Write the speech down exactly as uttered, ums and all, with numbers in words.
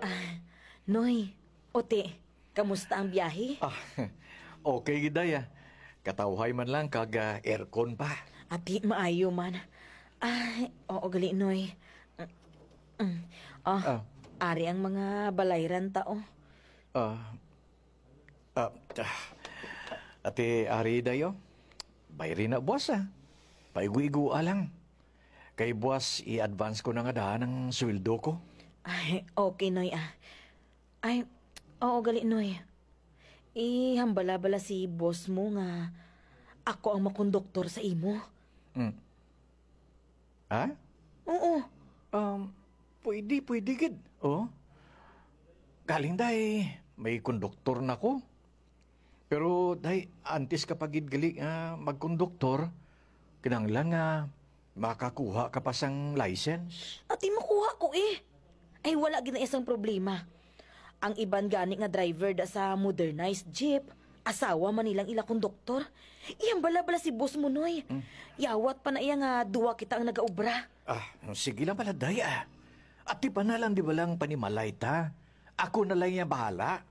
Ah, Noy, Ote, kamusta ang biyahe? Ah, okay gid, Day, ah. Katawhay man lang kag, ah, aircon pa. Ati, maayo man. Ay, oo gali, Noy. Mm, mm. Oh, Ah. Ari ang mga balayran ta, oh. Ah, ah, ah. Ate, ari dayo. Bayri na, boss, ah. Paigo-igoa lang. Kay, boss, i-advance ko na nga daan ang sweldo ko. Ay, okay, Noy, ah. Ay, oo gali, Noy. Ihambala bala si boss mo nga ako ang makonduktor sa imo? Hmm. Ha? Oo. Um, pwede, pwede gid. Oh. Galing, Day, may konduktor na ko. Pero, Day, antes ka pa gid gali nga magkonduktor, kinahanglan nga makakuha ka pa sang license. Ati, makuha ko, eh. Ay, wala gid na isang problema. Ang iban gani nga driver da sa modernized jeep, asawa man nilang ila konduktor. Ihambala bala si boss mo, Noy. Hmm. Yawat pa na iya nga duwa kita ang nagaobra. Ah, sige lang pala, Day, ah. Ati pa na lang di ba lang panimalay ta? Ako na lang iya bahala.